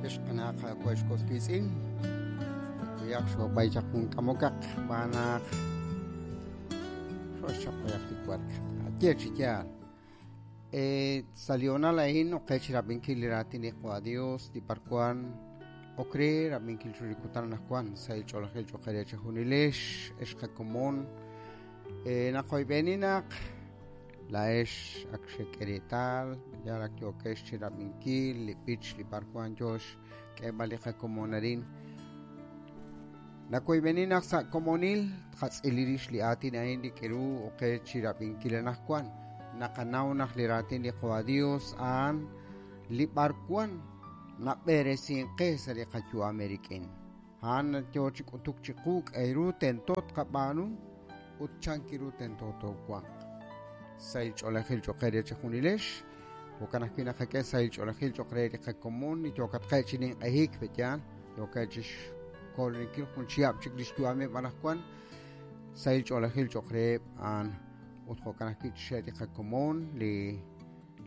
Ex qana' qaawa' ex was wiitz'in, xqakuyaq xoob'ay chaq jun k'amokaq xb'aan naq xooxchap b'ayaq li wark. Ye chi yaal. Sa' li hoonal a'in ok qe chi rab'inkil li raatin li Qaawa' Dios li b'arwan ok re rab'inkil chiru li kutan anaqwan sahil ch'oolejil cho'q eere chejunilex ex qakomon. Naqoyb'eni naq laa'ex ak xek'e reetal yal ak yookex chi rab'inkil li b'ich li b'arwan yoo xk'eeb'al li qakomon arin. Nawoyb'eni naq sa' komonil tqatz'ili rix li aatin a'in li k'eru ok qe chi rab'inkil anaqwan. Naqanaw naq li raatin li Qaawa' Dios a'an li b'arwan nab'eresink qe sa' li qayu'am eerik'in. A'an yoo chi k'utuk chiqu k'a'ru tento tqab'aanu ut chan ru tento toowanq. Sahil ch'oolejil cho'q eere chejunilex. Jo'kan ajwi' naqak'e sahil ch'oolejil cho'q re li qakomon li yookatqe' chi ninq'ehik, pe'yaal yookeb' chi xkoloninkil jun chihab' chik li xyu'ameb' anaqwan. Sahil ch'oolejil cho'q reheb' a'an ut jo'kan ajwi' chixe' li qakomon li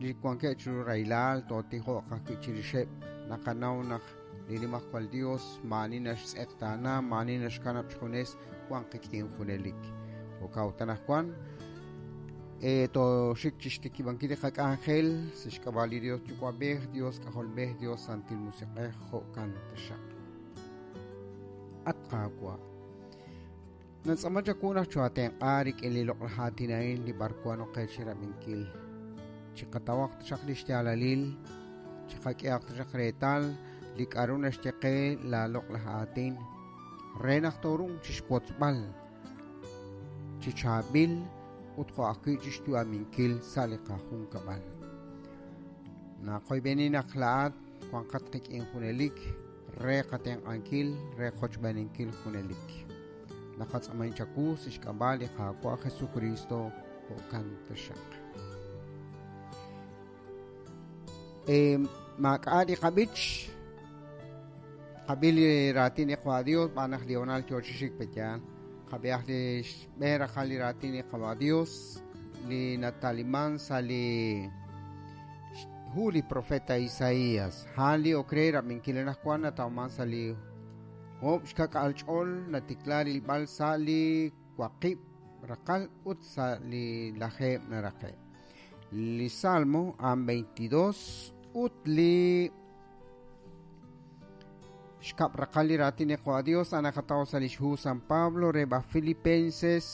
li wankeb' chiru rahilal tootijoq ajwi' chirixeb'. Naqanaw naq li Nimajwal Dios maa'ani naxtz'eqtaana, maa'ani naxkanab' xjunes, wank qik'in junelik. Jo'kan ut anaqwan tooxik chixtikib'ankil li qak'anjel sa' xk'ab'a' li Dios Yuwa'b'ej, Dios K'ajolb'ej, Dios Santil Musiq'ej, jo'kan taxaq. At Qaawa', Nantz'aama chawu naq choo'aatenq'a rik'in li loq'laj aatin a'in li b'arwan ok qe chirab'inkil. Chiqatawaq taxaq li xyaalalil, chiqak'ehaq taxaq reetal li k'a'ru naxye qe laa loq'laj aatin, re naq tooruuq chixwotzb'al chi chaab'il ut jo' ajwi' chixyu'aminkil sa' li qajunkab'al. Naqoyb'eni naq laa'at wanqat qik'in junelik re qatenq'ankil, re qochb'eeninkil junelik. Naqatz'aamahin chawu sa' xk'ab'a' li Qaawa' Jesukristo, jo'kan taxaq. Maak'a' li qab'ich, qab'i li raatin li Qaawa' Dios xb'aan naq li hoonal yoo chi xik pe'yaal. Qab'ihaq li xb'een raqal li raatin li Qaawa' Dios li nataliman sa' li hu li profeta Isaías. A'an li ok re rab'inkil anaqwan natawman sa' li oob' xka'k'aal ch'ol natikla rilb'al sa' li waqib' raqal ut sa' li lajeeb' naraqe'. Li Salmo a'an 22 ut li xkab' raqal li raatin li Qaawa' Dios a'an naqataw sa' lix hu San Pablo re b'aj Filipenses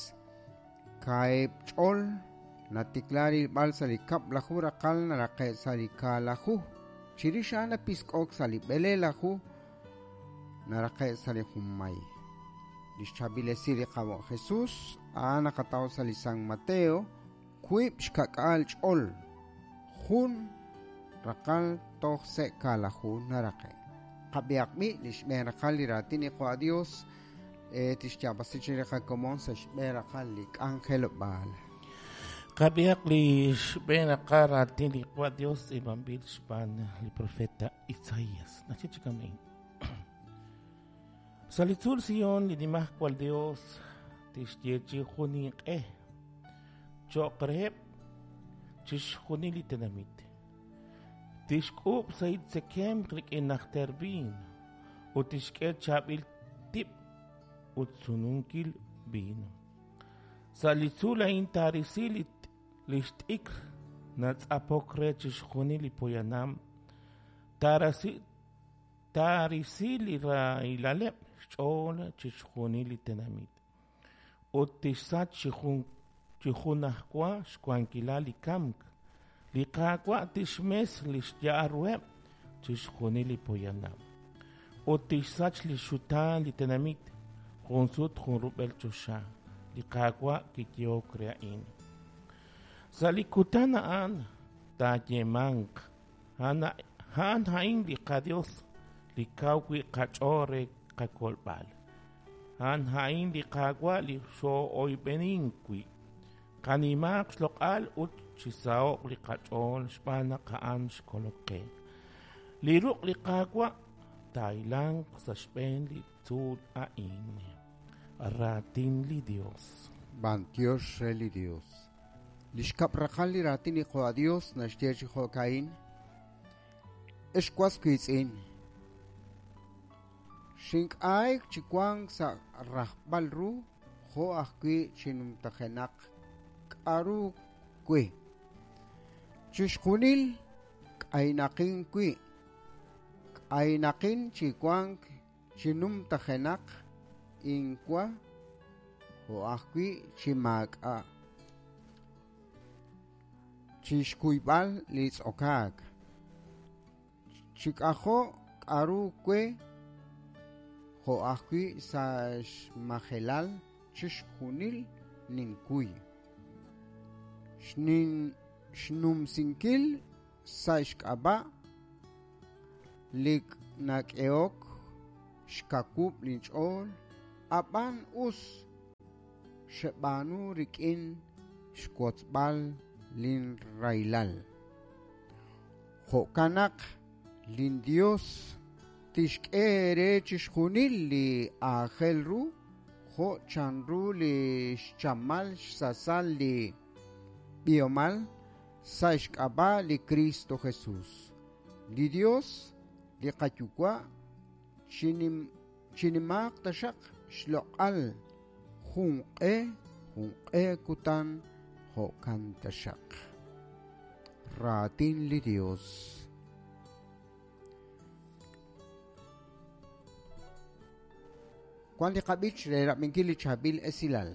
kaahib' ch'ol natikla rilb'al sa' li kab'laju raqal naraqe' sa' li kaalaju. Chirix a'an napisk'ok sa' li b'eleelaju naraqe' sa' li junmay. Li xchaab'il esil li Qaawa' Jesus a'an naqataw sa' li San Mateo wiib' xka'k'aal ch'ol jun raqal toj se' kaalaju naraqe'. Qab'ihaq b'i' li xb'een raqal li raatin li Qaawa' Dios tixyaab'asi chi li qakomon sa' xb'een raqal li k'anjelob'aal. Qab'ihaq li xb'een raqal raatin li Qaawa' Dios tz'iib'anb'il xb'aan li profeta Isaías. Naxye chi kama'in. Sa' li tzuul Sion li Nimajwal Dios tixyeechi jun ninq'e cho'q reheb' chixjunil li tenamit. Tixk'uub' sahil tzekemq rik'in najter viin ut tixk'e chaab'il tib' ut sununkil viin. Sa' li tzuul a'in taarisi li xt'ikr natz'apok re chixjunil li poyanam, taarasi taarisi li rahilaleb' xch'ool chixjunil li tenamit ut tixsach chi jun chi junajwa xwankilal li kamk. Li Qaawa' tixmes li xya'al ruheb' chixjunil li poyanam ut tixsach li xxutaan li tenamit jun sut jun rub'el choxa. Li Qaawa' kiyehok re a'in. Sa' li kutan a'an taayeemanq A'an a'in li qaDios li kaw wi' qach'ool re qakolb'al. A'an a'in li Qaawa' li xoo'oyb'enink wi'. Qanimaaq xloq'al ut chisaho'q li qach'ool xb'aan naq a'an xkolok qe. Li ruq' li Qaawa' taahilanq sa' xb'een li tzuul a'in. Raatin li Dios. B'antiox re li Dios. Li xkab' raqal li raatin li Qaawa' Dios naxye chi jo'ka'in, Ex was wiitz'in, Xink'ayk chi wank sa' rajb'al ru jo' ajwi' chi numtajenaq k'aru we. Chixjunil k'aynaqin wi', k'aynaqin chi wank chi numtajenaq inwa jo' ajwi' chi maak'a'. Chi xkuyb'al li tz'okaak. Chi k'ajo' k'aru we jo' ajwi' sa' xmajelal chixjunil ninkuy. Xnumsinkil sa' xk'ab'a' li nak'ehok xkawub' linch'ool, ab'an us xeb'aanu rik'in xwotzb'al linrahilal. Jo'kan naq linDios tixk'e eere chixjunil li aajel ru jo' chanru li xchamal xsasal li b'ihomal sa' xk'ab'a' li Kristo Jesus. Li Dios, li qaYuwa', chinimaaq taxaq xloq'al junq'e junq'e kutan jo'kan taxaq. Raatin li Dios. Wan li qab'ich re rab'inkil li chaab'il esilal.